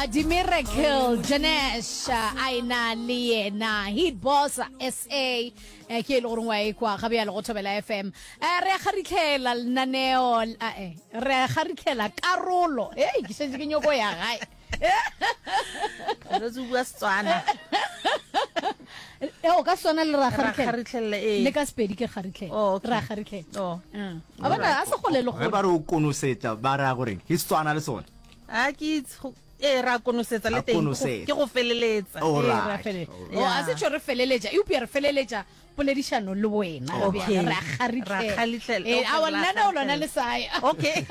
Dimiracle Janesh a ena le yena Hit Boss SA eh, ke e le gore wa ekwa ga bjale go Thobela FM. Eh, re a kgaritlhela lenaneo eh, re a kgaritlhela karolo. Hey, ke šetše ke nyoko ya gae. Re bua Setswana. Eh, o ka swana le ra kgaritlhela. Eh. Le ka Sepedi ke kgaritlhela. Oh, Ra kgaritlhela. Oh. Mm. A bona a se gole le gole. Ge ba re o konosetsa ba ra gore ke Setswana le sone. A ke itse ee ra konosetsa le teng ke go feleletsa. Oh, a se tšho re feleletša eupša re feleletša poledišano le wena okay. re a kgaritlhela eh, awa lenaneo lona le sae okay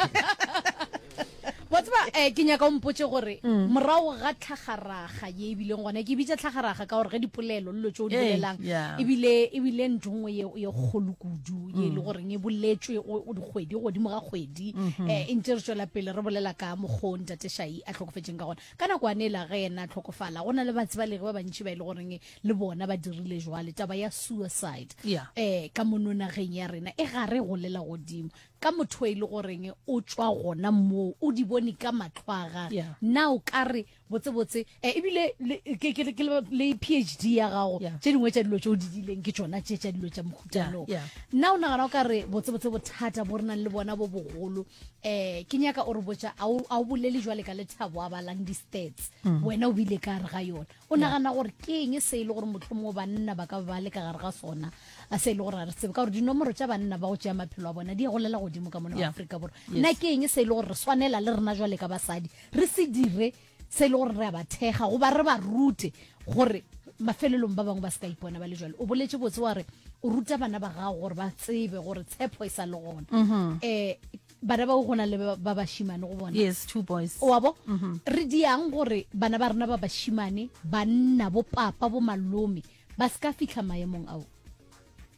wa tseba um ke nyaka o mpotse gore mm. morago ga tlhagaraga ye ebileng gona ke bitsa tlhagaraga ka gore ge dipolelo lelo tse o di bolelang ebile ebile ntho nngwe ye kgolo kudu ye e le mm. goreng e boletswe dikgwedi godimo ga kgwedi um e ntse re tswela pele re bolela ka mokgwa o ntate shai a tlhokofetseng ka gona ka nako ane la ge yena a tlhokofala go na le batsebalegi ba bantši ba e le goreng le bona ba dirile jwale taba ya suicide yeah. eh ka mono nageng ya rena e gare golela godimo ka motho e le goreng o tšwa gona moo o di bone ka matlho a gage yeah. na o ka re botsebotse eh, ebile le, ke, ke, ke, le phd ya gago yeah. tše dingwe tša dilo tše o di dileng ke tšona tše tša dilo tša mohutanoo yeah, yeah. na o nagana o ka re botsebotse bothata bo re nang le bona bo bogolo eh ke nyaka o re botša a o bolele jwale ka lethabo a balang di-stats mm. wena o bile ka re ga yona O nagana gore ke eng se e le gore mohlomongwe banna ba ka ba le ka gare ga sona a se e le gore ga re tsebe ka gore dinomoro tša banna ba go tšea maphelo a bona di golela godimo ka mona Yeah. Afrika Borwa Yes. na ke eng se e le gore re swanela le rena jwale ka basadi re se dire se e le gore re a ba thekga goba re ba rute gore mafelelong ba bangwe ba se ka ipona ba le jwale o boletše botse wa re o ruta bana ba gago gore ba tsebe gore tshepo e sa le gona um bana bao go na le ba bashimane go bona yes two boys wa bo mm -hmm. re diang gore bana ba rena ba bashimane banna bo papa bo malome ba se ka fitlha maemong ao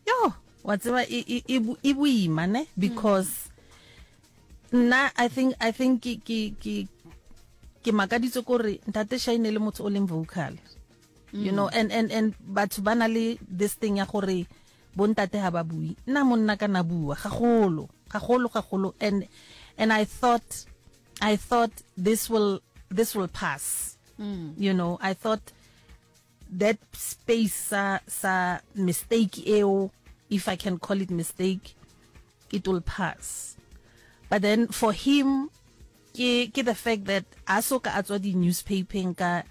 yo wa tseba e, e, e, e boima ne because nna i think i think ke ke ke ke makaditswe kore ntate Shine le motho o leng vocal mm. you know and and and batho ba na le this thing ya gore Bontate ha ba bue. Nna monna ka na bua gagolo, gagolo, gagolo and and I thought I thought this will this will pass. Mm. You know, I thought that space sa sa mistake eo if I can call it mistake it will pass. But then for him ke ke the fact that a so ka a tswa di newspapering ka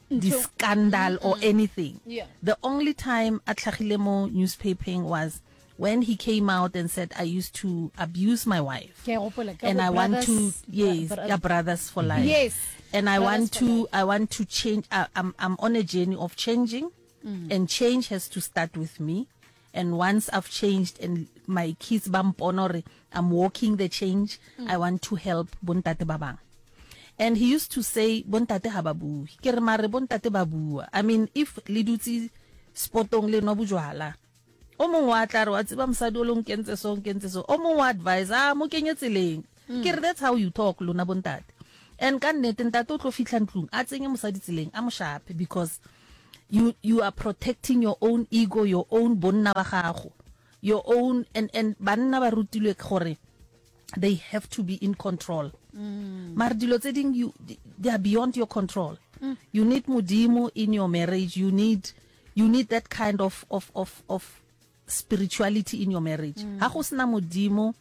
di scandal or anything. Yeah. The only time a tlhagile mo newspapering was when he came out and said I used to abuse my wife. Ke a gopola, ka And bo I want to brothers- yes, bro- yeah, brothers for life. Yes. And I Brothers want for to life. I want to change I, I'm I'm on a journey of changing Mm. and change has to start with me. And once I've changed and my kids ba mpona gore I'm walking the change, mm. I want to help bontate ba bang. And he used to say bontate ha ba bue. Ke re mare bontate ba bua. I mean if le dutse spotong le nwa bojwala, o mongwe wa tla re wa tseba mosadi o le nkentse so nkentse so o mongwe wa advise a mo kenye tseleng mm. ke re that's how you talk lona bontate and ka nnete ntate o tlo fitlha ntlong a tsenye mosadi tseleng a mo shape because you you are protecting your own ego your own bonna ba gago your own and and banna ba rutilwe gore they have to be in control mm. mare dilo tse ding you they are beyond your control mm. you need modimo in your marriage you need you need that kind of of of of spirituality in your marriage mm. ha go sena modimo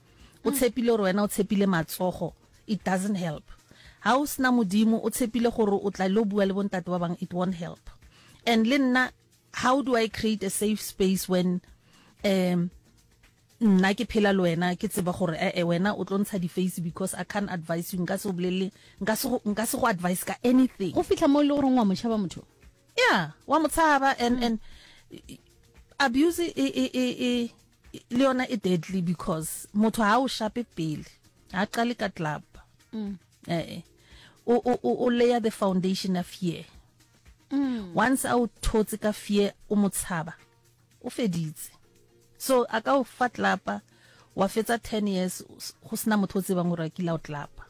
o mm. tshepile gore wena o tshepile matsogo it doesn't help ha o sena modimo o tshepile gore o tla lo bua le bontate ba bang it won't help and le nna how do i create a safe space when um nna ke phela le wena ke tseba gore ee eh, wena o tlo ntsha di-face because i can't advise you nka se o bolelele nka se go advise ka anything go fitlha mo e le goreng wa motšhaba motho yeah wa mo tshaba and mm. and abuse e e e e le yona e deadly because motho ha o shape pele ha qale ka club mm. eh, eh o o o layer the foundation of fear mm. once a o thotse ka fear o mo tshaba o feditse so a ka o fa tlapa wa fetsa 10 years go sena motho o tsebang gore a kile a o tlapa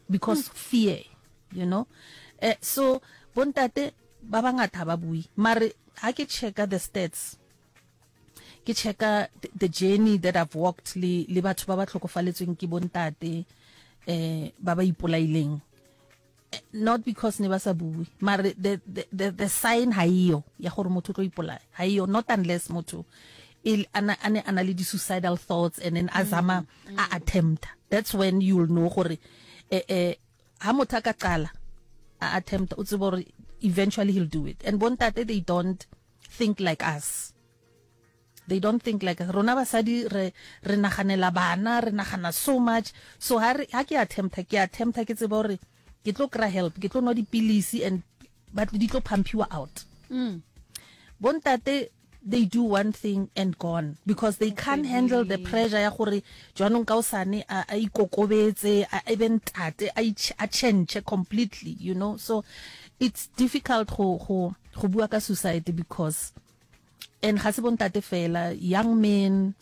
because mm. fear you know eh, so bontate ba bangata ba bui mare ha ke checka the stats ke checka the journey that I've walked le le batho ba ba tlhokofaletsweng ke bontate eh ba ba ipolaileng eh, Not because ne ba sa bue, mare the, the, the, the sign ha eyo ya gore motho o tlo ipolaya. Ha eyo, not unless motho e, a na, a ne a na le di-suicidal thoughts and then a zama a attempta. That's when you'll know gore eh, eh, ha motho a ka qala a attempta, o tsebe gore eventually he'll do it. And bontate, they don't think like us. They don't think like us. Rona basadi re re naganela bana, re nagana so much. So ha re ha ke attempta, ke attempta ke tseba gore ke tlo kry help, ke tlo nwa dipilisi and but di tlo pumpiwa out. Bontate they do one thing and gone because they can't handle the pressure ya gore jwanong ka osane a a ikokobetse a e be ntate a a change completely, you know. So it's difficult go go go bua ka suicide because and ga se bontate fela young men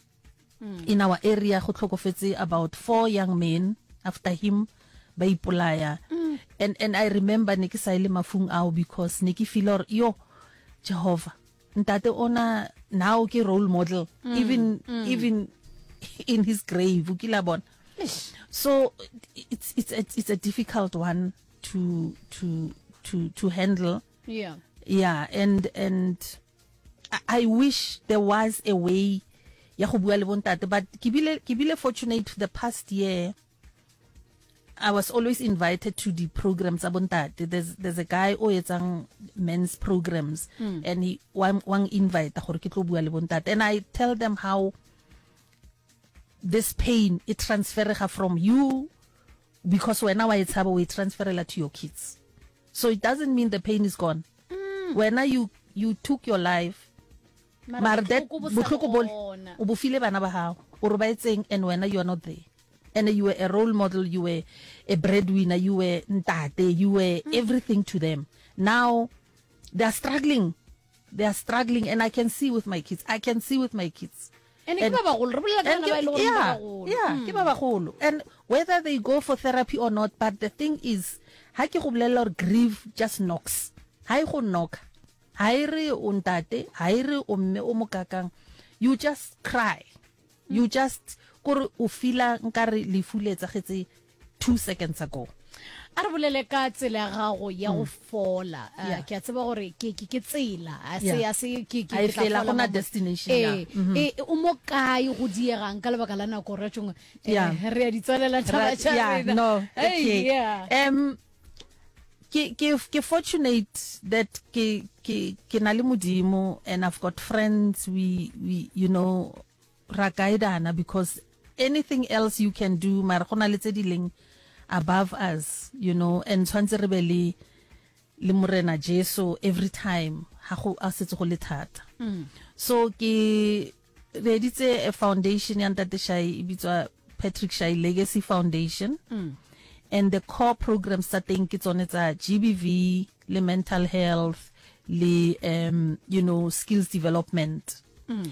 mm. in our area go tlhokofetse about four young men after him ba ipolaya mm. and and i remember ne ke sa ile mafung ao because ne ke feel or yo Jehovah ntate ona now ke role model mm. even mm. even in his grave o kila bona so it's it's a, it's a difficult one to to to to handle Yeah. Yeah, and and I, I wish there was a way ya go bua le bontate but ke bile ke bile fortunate the past year I was always invited to the programs tsa bontate there's there's a guy o etsang men's programs mm. and he one one invite gore ke tlo bua le bontate and I tell them how this pain it transferega from you because wena wa e tshaba o e transferela to your kids So it doesn't mean the pain is gone. Mm. Wena you you took your life. Mara that bohloko bo o bo file bana ba gago o re ba etseng and wena you are not there. And you were a role model, you were a breadwinner, you were ntate, you were mm. everything to them. Now they are struggling. They are struggling and I can see with my kids. I can see with my kids. And ke ba bagolo, re bolela ka bana ba e le gore ba bagolo. Yeah, ke ba bagolo. And whether they go for therapy or not, but the thing is, ha ke go bolelela gore grief just knocks. Ha e go knock. Ha e re o ntate, ha e re o mme o mokakang. You just cry. You just kore o feela nkare lefu le etsagetse 2 seconds ago. A re bolele ka tsela ya gago ya go fola. Uh, Yeah. Ke a tseba gore ke ke ke tsela. A se Yeah. a se ke ke Ha e ke tla fela, fola gona mo- destination, Eh, yeah. Mhm. eh, o mo kae go diegang ka lebaka la nako re tšong. Eh, Yeah. re a di tswalela taba Ra- tša yeah, rena. no, Hey, okay. yeah. Ke ke ke fortunate that ke ke ke na le Modimo and I've got friends we we you know ra guidana because anything else you can do mara go na le tse di leng above us you know and tshwantse re be le le morena Jesu every time ha go a setse go le thata mm. so ke reeditse a foundation ya ntate Shai e bitswa Patrick Shai Legacy Foundation mm. and the core programs tsa teng ke tsone tsa GBV le mental health le um you know skills development mm.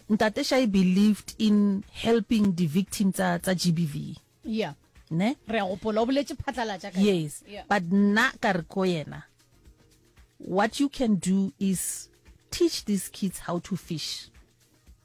Ntate Shai believed in helping di victim tsa tsa GBV. Yeah. Ne? Re a gopola o boletše phatlalatša ka Yes. Yeah. But nna ka re ko yena what you can do is teach these kids how to fish.